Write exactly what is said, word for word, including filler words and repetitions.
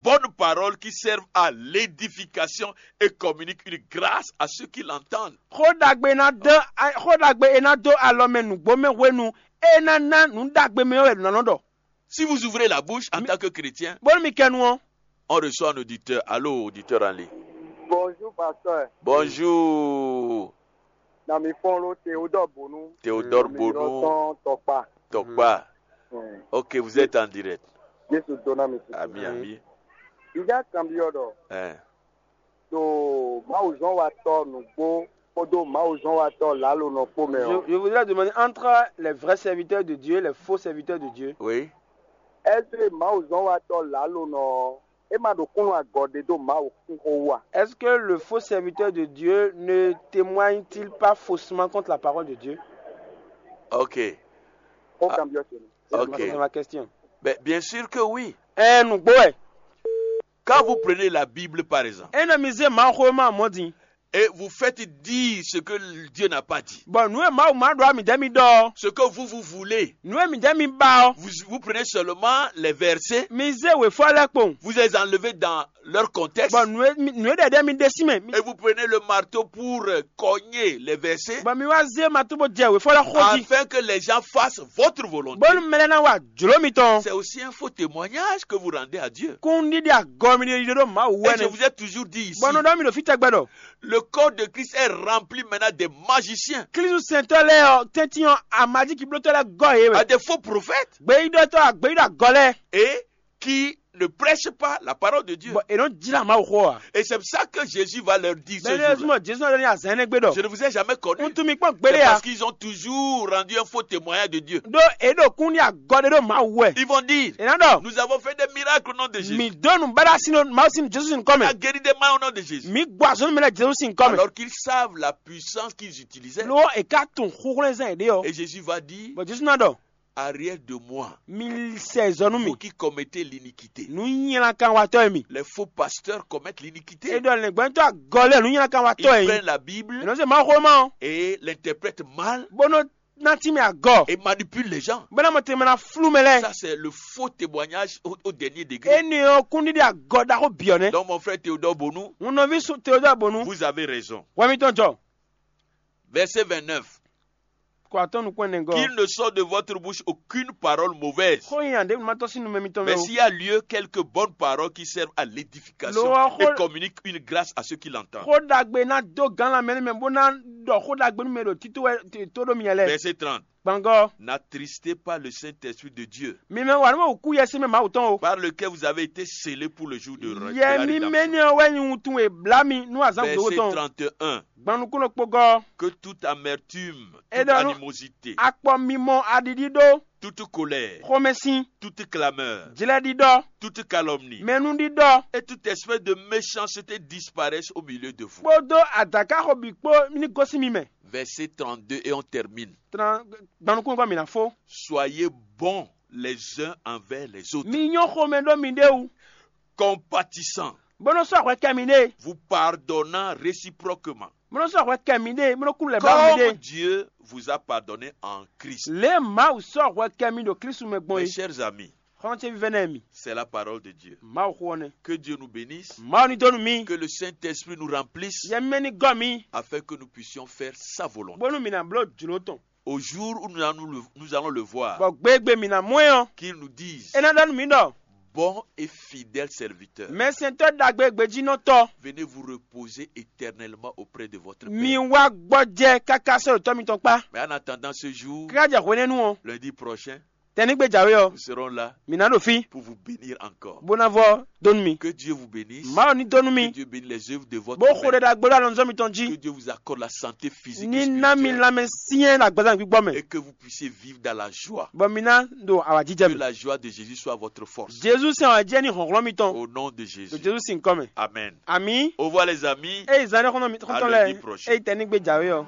bonnes paroles qui servent à l'édification et communiquent une grâce à ceux qui l'entendent. Xó ɖagbe e ná dó xó ɖagbe e ná dó alɔ mɛ nǔgbó mɛ hwenu e ná ná nǔ ɖagbe mɛ ɔ́ wɛ nǔ ná nɔ ɖɔ. Si vous ouvrez la bouche en tant que chrétien, bónú mi kɛ nu ɔ́, on reçoit un auditeur. Allô, auditeur en ligne. Bonjour, pasteur. Bonjour. Na mi fɔn lo Théodore Bonu. Théodore Bonu. Tɔkpa. Tɔkpa. Ok, vous êtes en direct. Jésus donna mi. Ami, ami. Ija kan bi ɔdɔ. Eh. To Mawu zɔn wa tɔ nugbo kpódó Mawu zɔn wa tɔ lalo nɔ kpó mɛ ɔ. Je voudrais demander entre les vrais serviteurs de Dieu et les faux serviteurs de Dieu. Oui. Ɛsɛ Mawu zɔn wa tɔ lalo nɔ ɔ́, é ma ɖo kúnnú agɔ ɖé ɖo Mawu xixo wú a? Est-ce que le faux serviteur de Dieu ne témoigne-t-il pas faussement contre la parole de Dieu? Ok. Xó kan byɔ́ ce. Ok. C'est ma question. Ben, bien sûr que oui. Ɛ nǔgbó wɛ. Quand vous prenez la Bible, par exemple, Ena mi zé Mawuxówéma mɔ̌ din. Et vous faites dire ce que Dieu n'a pas dit, Bɔ nǔ e Mawu ma ɖɔ amǐ dɛ́ mi ɖɔ ɔ́. Ce que vous, vous voulez, Nǔ e mi dɛ́ mi ba ɔ́. Vous, vous prenez seulement les versets, Mi zé wěfɔ lɛ́ɛ kpowun. Vous les enlevez dans leur contexte, Bɔ nǔ e mi- nǔ e ɖɛɖɛ mi ɖe sín mɛ. Mi- et vous prenez le marteau pour euh, cogner les versets, Bɔ mi wá zé ma tó bó jɛ wěfɔ lɛ́ɛ xó jí. Afin que les gens fassent votre volonté. Bónú mɛ lɛ́ɛ ná wa jlǒ mitɔn. C'est aussi un faux témoignage que vous rendez à Dieu. Kún ɖiɖi agɔ mi ɖe ɖo Mawu wɛ. Et je vous ai toujours dit ici, Bɔnɔ ɖɔ mi ɖo fí tɛgbɛ ɖɔ. Le corps de Christ est rempli maintenant des magiciens. Klísu sɛntɔ́ lɛ́ɛ ɔ́ tɛ́ntin ɔ́ amadíkiblótɔ́ lɛ́ɛ gɔ́ yě wɛ. À des faux prophètes. Gbeyíɖɔtɔ́ agbeyíɖɔ agɔ lɛ́ɛ. Et qui ne prêchent pas la parole de Dieu. Bɔ è nɔ jlá Mawu xó a. Et c'est pour ça que Jésus va leur dire ce jour-là. Bɛnɛ zumɔ Jesu nɔ ɖɔ ní azan énɛ́ gbe ɖɔ. Je ne vous ai jamais connu. Un tún mi kpɔ́n gbélé a. Parce qu'ils ont toujours rendu un faux témoignage de Dieu. Ɖó è ɖo kún ní agɔ ɖé ɖo Mawu wɛ. Ils vont dire, è nɔ ɖɔ. Nous avons fait des miracles au nom de Jésus. Mi dó nu báɖá sin Mawu sin Jesu sin kɔmɛ. A guéri des malades au nom de Jésus. Mi gbɔ azɔn mɛ lɛ Jesu sin kɔmɛ. Alors qu'ils savent la puissance qu'ils utilisaient. Ló è ká tun xúxlɛ́nzɛn yě ɖe ɔ. Et Jésus va dire, Bɔ Jesu ná ɖɔ. Arrière de moi, Mi sɛ zɔ nú mi. Vous qui commettez l'iniquité. Nǔ nylankanwatɔ́ e mi. Les faux pasteurs commettent l'iniquité. E ɖɔ lɛ̌ngbɛ́ntɔ́ agɔ lɛ́ɛ nǔ nylankanwatɔ́ Ils e prennent la Bible. È nɔ se Mawuxówéma ɔ́. Et l'interprètent mal. Bó nɔ ná tínmɛ agɔ. Et manipulent les gens. Bó ná mɔ tɛnmɛ ná flú mɛ lɛ́ɛ. Ça, c'est le faux témoignage au, au dernier degré. Énɛ́ ɔ́ kún ɖiɖi agɔ ɖaxó byɔ̌ nɛ́. Donc, mon frère Théodore Bonou, Hun nɔví Teodoro Bonu. Vous avez raison. Hwɛ mitɔn jɔ. Verset vingt-neuf. Kɔ atɔ́ nukún ɛnɛ gɔ́. Qu'il ne sorte de votre bouche aucune parole mauvaise. Xó nyi aɖě ma tɔ́ sín numɛ mitɔn mɛ. Mais s'il y a lieu, quelques bonnes paroles qui servent à l'édification et communiquent une grâce à ceux qui l'entendent. Xó ɖagbe ná dó gán la mɛ nú mɛ bó ná ɖɔ xó ɖagbe nú mɛ ɖo títú wɛ tó ɖó miɛ lɛ́ɛ. Verset trente. Gbangɔ. N'attristez pas le Saint-Esprit de Dieu. Mi mɛ wà nú wɛ wǔkú yɛ sín mɛ Mawu tɔn o. Par lequel vous avez été scellés pour le jour de ré- de la Yɛ mi rédemption. Mɛ ní ɔ wɛ nyi wuntun e blá mi nú azán Verset gbeɖé tɔn. Trente et un. Gban nukúnnɔ kpogɔ. Que toute amertume, toute Eɖɔ nú animosité, akpɔ mimɔ aɖiɖi ɖó. Toute colère, Xɔmɛsin. Toute clameur, Jlɛɖiɖɔ. Toute calomnie, Mɛnúɖiɖɔ. Et toute espèce de méchanceté disparaisse au milieu de vous. Kpódó adǎkáxɔ bǐ kpó ní gosín mi mɛ. Verset trente-deux et on termine. Tran- Gban nukúnnɔ kɔ mi ná fó. Soyez bons les uns envers les autres. Mi nyɔ́ xomɛ ɖó mi ɖéwu. Compatissant. Bó nɔ sɔ́ hwɛ kɛ mi ɖée. Vous pardonnant réciproquement. Bó nɔ sɔ́ hwɛ kɛ mi ɖée, bó nɔ kú lɛ bá mi Comme ɖée. Dieu vous a pardonné en Christ. Lě Mawu sɔ́ hwɛ kɛ mi ɖo Klísu mɛ gbɔn Mes é. Chers amis, Xɔ́n ce vívɛ́ nɛ́ mi. C'est la parole de Dieu. Mawu xó ɔ́ nɛ́. Que Dieu nous bénisse. Mawu ní dó nú mi. Que le Saint-Esprit nous remplisse. Yɛ mímɛ́ ní gɔ́ mi. Afin que nous puissions faire sa volonté. Bónú mi ná bló jlǒ tɔn. Au jour où nous allons le, nous allons le voir, Bɔ gbégbé mi ná mɔ ɛ ɔ́. Qu'il nous dise, É ná ɖɔ nú mi ɖɔ. Bon et fidèle serviteur, Mɛsɛntɔ́ ɖagbe gbejínɔtɔ́. Venez vous reposer éternellement auprès de votre Père. Mi wá gbɔjɛ káká sɔ́ ɖo tɔ́ mitɔn kpá. Mais en attendant ce jour, Kíká jɛ hwenɛ́nu ɔ́. Lundi prochain, Tɛnígbe jǎwe ɔ́. Nous serons là. Mi ná ɖo fí. Pour vous bénir encore. Bó ná vɔ dó nú mi. Que Dieu vous bénisse. Mawu ní dó nú mi. Que Dieu bénisse les œuvres de votre Bó xo ɖɛ ɖagbe ɖo alɔnzɔ́ mitɔn jí. Que Dieu vous accorde la santé physique et spirituelle. Ní ná mi lanmɛ syɛ́n ɖo agbaza gbígbɔ mɛ. Et que vous puissiez vivre dans la joie. Bɔ mi ná ɖo awǎjijɛ mɛ. Que la joie de Jésus soit votre force. Jezu sɛn awǎjijɛ ní hlɔ̌nhlɔ́n mitɔn. Au nom de Jésus. Ɖo Jezu sín kɔ́ mɛ. Amen. Amǐ. Au revoir les amis. Ée zán ɖé xɔ́ntɔn mi xɔ́ntɔn lɛ́ɛ. À lundi prochain. Ée tɛnígbe jǎwe ɔ́.